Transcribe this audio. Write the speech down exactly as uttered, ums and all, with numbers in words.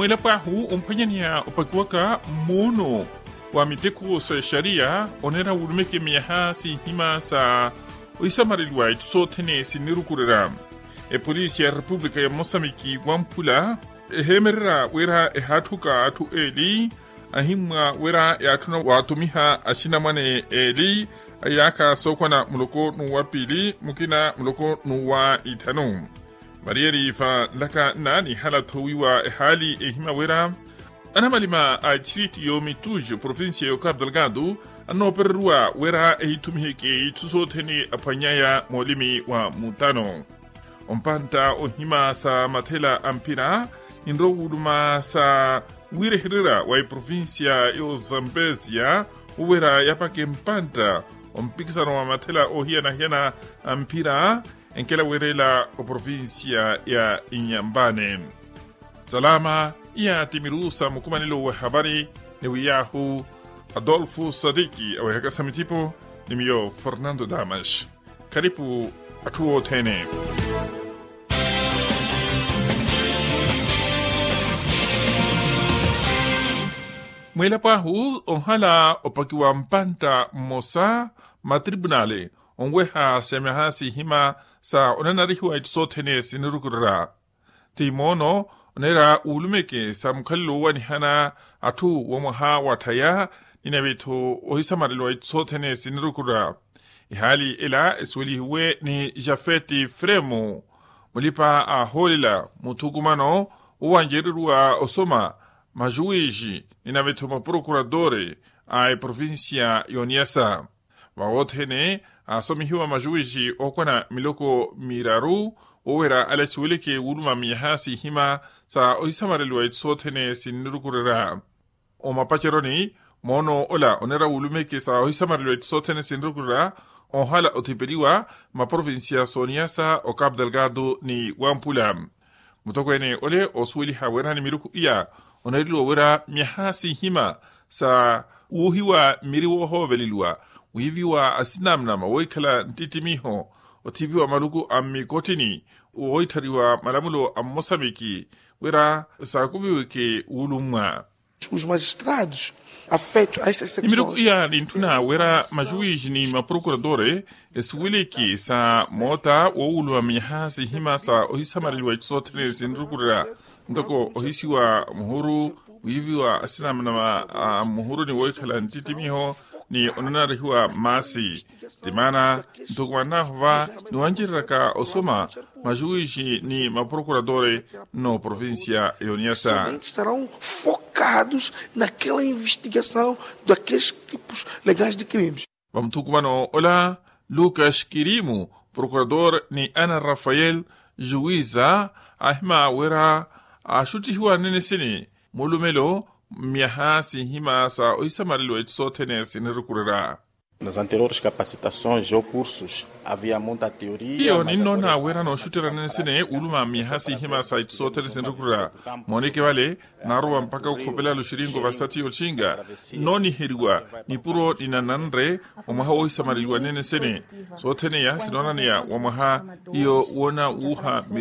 Mweelapo ahu omphwanyaneya opakiwaka mmuuno wa miteko sa exariya oneera wuulumeke miyaha sinhima sa ohisamareliwa itthu sothene sinnirukurerya. Epolisi ya repupulika ya mosambiki wamphula eheemererya wira ehaatthuka atthu eeli ahimmwa wira yaatthuna waattumiha axinamwane eeli a iyaakha sookwana muloko n'uwa piili mukina muloko n'uwa itthanu. Variyeriiva nlaka nna nihala thoowiwa ehaali ehima wira anamalima a ittiritu y'omituju provincia y'okapu delgado annoopereriwa wira ehiithumiheke itthu sothene aphwanyaya moolimi wa mutano. Ompantta ohima sa mathela a mphira ninrowa wuuluma sa wiirehererya wa eprovincia y'ozambesia owira yapake mpantta ompikisano wa mathela oohiyana-hiyana a mphira enkela weerela oprovincia ya inyampane. Salama. Iya ti miru sa mukumanelo wa ehapari ni wiyaahu adolfo sadiki aweehaka sa mittipo ni miyo fernando damas. Kharipu atthu othene. Mweelapo ahu ohala opakiwa mpantta mmosa matripunale onweha sa miyaha sihima sa onanarihiwa itthu sothene sinirukurerya. Ti moono oneera wuulumeke sa mukhalelo owanihana atthu wa mwaha watthaya ni nave-tho ohisamareliwa itthu sothene sinirukurerya. Ehaali ela esuwelihiwe ni jafeti fremu mulipa-ahoolela muthukumano owancereriwa osoma majuwiji ni nave-tho maprokuratore a eprovincia y'oniyasa. Vawothene aasomihiwa majuwiji ookwana miloko miraru woowera ale asuweleke wuuluma miyaha sihima sa ohisamareliwa itthu sothene sinnirukurerya. Omapaceroni moono ola oneera wuulumeke sa ohisamareliwa itthu sothene sinnirukurerya ohala othipeliwa maprovincia s'oniyasa okapu delgado ni wampula. Mutokweene ole oosuweliha wira ni miruku iya oneereliwa wira miyaha sihima sa wuuhiwa mmiri woohooveleliwa wiiviwa asinamnama wohikhala nttittimiho othipiwa maluku a mmikottini woohitthariwa malamulo a mmosamiki wira saakuviweke wuulummwa. Ni miruku iya nintthuna wira majuwiji ni maprokuratore esiwiliki sa moota woowuluma miyaha sihima sa ohisamareliwa itthu sothene sinrukurira ntoko ohisiwa muhuru wiiviwa asinamnama a muhuru ni woohikhala nttittimiho ni onanarihiwa mmaasi. Ti maana ntoko mwannahu va niwancereryaka osoma majuwiji ni maprokuratore n'oprovincia y'oniyasa. Focados naquela investigação daqueles tipos legais de crimes. Vamuthukumano ola lucas kirimu prokurador ni ana rafael juwiza ahima wira axuttihiwa nene sini mulumelo mmiyaha sinhima sa ohisamareliwa itthu sothene sinirukurira. Nas anteriores capacitações ou cursos havia muita teoria. Hiyo ninnoona wira nooxutterya nene sini wuluma mmiyaha sinhima sa itthu sothene sinirukurira. Mooneke vale naarowa mpakha okhopela luxirinko vasathi yooxinka nnooniheriwa nipuro ni nananre omwaha woohisamareliwa nene sini. Sothene iya sinoonaneya wa mwaha hiyo woona wuuha miri